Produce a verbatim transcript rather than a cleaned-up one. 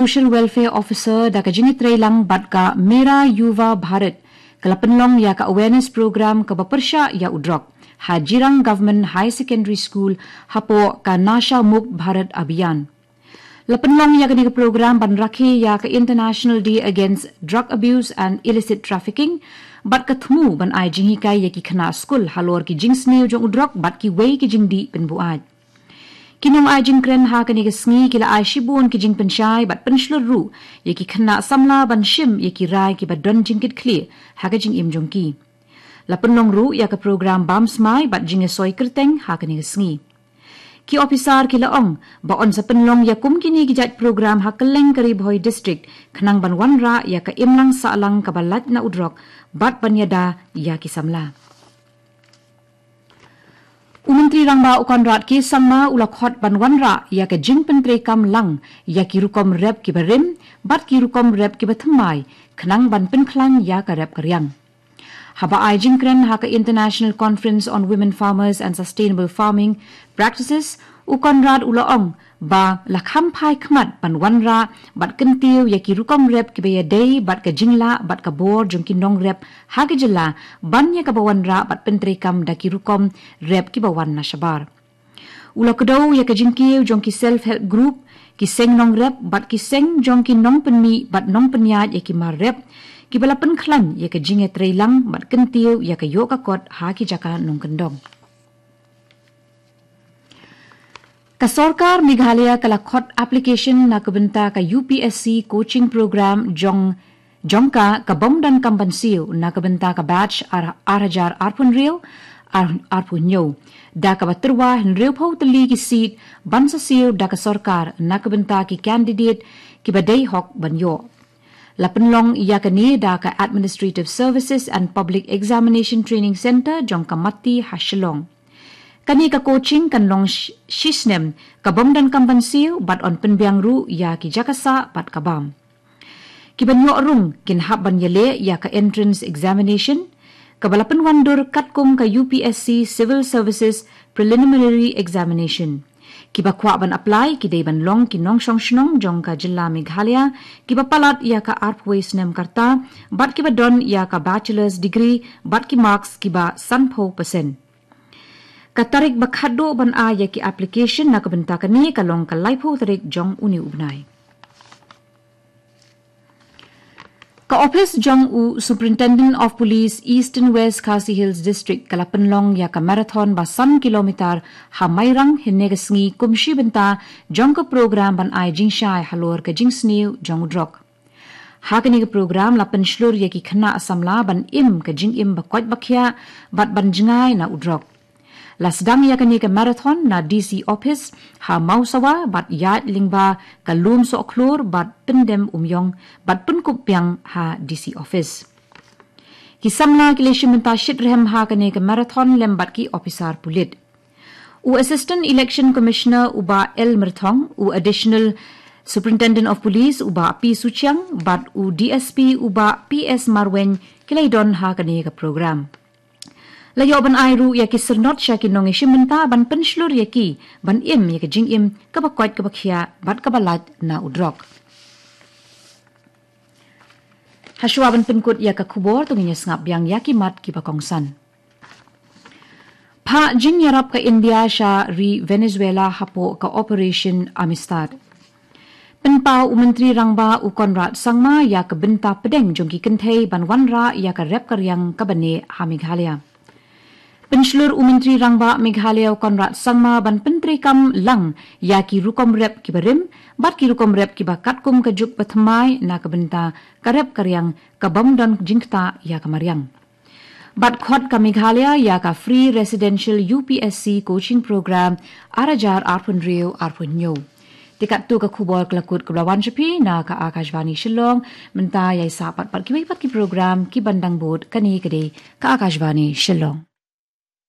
Social Welfare Officer da ka jingïatreilang bad ka Mera Yuva Bharat, ka la pynlong ïa ka awareness program kaba pyrshah ïa u drok ha Jirang Government High Secondary School hapoh ka Nasha Mukt Bharat Abhiyan. La pynlong ïa kane ka program ban rakhe ïa ka International Day Against Drug Abuse and Illicit Trafficking bad ka thmu ban ai jinghikai ïa ki khynnah skul halor ki jingsniew jong u drok bad kiwei ki jingdih pynbuaid. Ki nongai jingkren ha kane ka sngi ki la ai shibun ki jingpynshai bad pynshlur ruh ïa ki khynnah samla ban shim ïa ki rai kiba don jingkitkhlieh ha ka jingim jong ki. La pynlong ruh ïa ka program bam smai bad jingïasoi kyrteng ha kane ka sngi. Ki ophisar ki la ong ba yn sa pynlong ïa kum kine ki jait program ha kylleng ka Ri Bhoi District khnang ban wanrah ïa ka imlang sahlang kaba lait na u drok bad ban ïada ïa ki samla. U Myntri Rangbah u Conrad K Sangma u la khot ban wanrah ïa ka jingpyntreikam lang ïa ki rukom rep kiba rim bad ki rukom rep kiba thymmai khnang ban pynkhlaiñ ïa ka rep ka riang. Haba ai jingkren ha ka International Conference on Women Farmers and Sustainable Farming Practices, u Conrad u la ong ba la kham phai khmat ban wanrah bad kyntiew ïa ki rukom rep kiba ïadei bad ka jinglah bad ka bor jong ki nongrep ha ka jylla ban ïa kaba wanrah bad pyntreikam da ki rukom rep kiba wan na shabar. U la kdew ïa ka jingkiew jong ki self help group, ki seng nongrep bad ki seng jong ki nongpynmih bad nongpynïaid ïa ki mar rep kiba la pynkhlaiñ ïa ka jingïatreilang bad kyntiew ïa ka ïoh ka kot ha ki jaka nongkyndong. Ka sorkar Meghalaya ka la khot application na ka bynta ka U P S C coaching program jong jong ka ka bym donkam ban siew na ka bynta ka batch ar, ar hajar arphew hynriew, ar, arphew hynñiew. Da kaba tyrwa hynriewphew tylli ki seat ban sa siew da ka sorkar na ka bynta ki candidate kiba dei hok ban ïoh. La pynlong ïa kane da ka Administrative Services and Public Examination Training Centre jong ka MATI ha Shillong. Kane ka coaching kan long sh-, shisnem ka bym donkam ban siew bad yn pynbiang ruh ïa ki jaka sah bad ka bam. Kiban ïoh rung kin hap ban ïaleh ïa ka entrance examination kaba la pynwandur katkum ka U P S C Civil Services Preliminary Examination. Kiba kwah ban apply ki dei ban long ki nongshong shnong jong ka jylla Meghalaya kiba palat ïa ka arphew snem ka rta bad kiba don ïa ka bachelor's degree bad ki marks kiba sanphew percent. Ka tarik ba khatduh ban ai ïa ki application na ka bynta kane ka long ka laiphew tarik jong une u bnai. Ka ophis jong u Superintendent of Police Eastern West Khasi Hills District ka la pynlong ïa ka marathon ba san kilometer ha Mairang hynne ka sngi kum shi bynta jong ka program ban ai jingshai halor ka jingsniew jong u drok. Ha kane ka program la pynshlur ïa ki khynnah samla ban im ka jingim ba koit ba khiah bad ban jngai na u drok. La sdang ïa kane ka marathon na D C office ha Mawsawa bad ïaid lyngba ka Lum Sohkhlur bad Pyndem Umïong bad pynkup biang ha D C office. Ki samla ki la shim bynta shitrhem ha kane ka marathon lem bad ki ophisar pulit. U Assistant Election Commissioner u Bah L Myrthong, u Additional Superintendent of Police u Bah P Suchiang bad u D S P u Bah P S Marwein ki la ïadon ha kane ka program. La ïoh ban ai ruh ïa ki syrnod sha ki nongïashim bynta ban pynshlur ïa ki ban im ïa ka jingim kaba koit kaba khiah bad kaba lait na u drok. Hashwa ban pynkut ïa ka khubor to ngin ïa sngap biang ïa ki mat kiba kongsan. Phah jingïarap ka India sha ri Venezuela hapoh ka Operation Amistad. Pynpaw u Myntri Rangbah u Conrad Sangma ïa ka bynta pdeng jong ki kynthei ban wanrah ïa ka rep ka riang kaba neh ha Meghalaya. Pynshlur u Myntri Rangbah Meghalaya u Conrad Sangma ban pyntreikam lang ïa ki rukom rep kiba rim bad ki rukom rep kiba katkum ka juk ba thymmai na ka bynta ka rep ka riang ka bym don jingktah ïa ka mariang. Bad khot ka Meghalaya ïa ka Free Residential U P S C Coaching Program ar hajar arphew hynriew arphew hynñiew. Te katto ka khubor ka la kut kaba la wan sha phi na ka Akashvani Shillong. Mynta ïa sah pat pat kiwei pat ki program kiban dang bud. Kane ka dei ka Akashvani Shillong.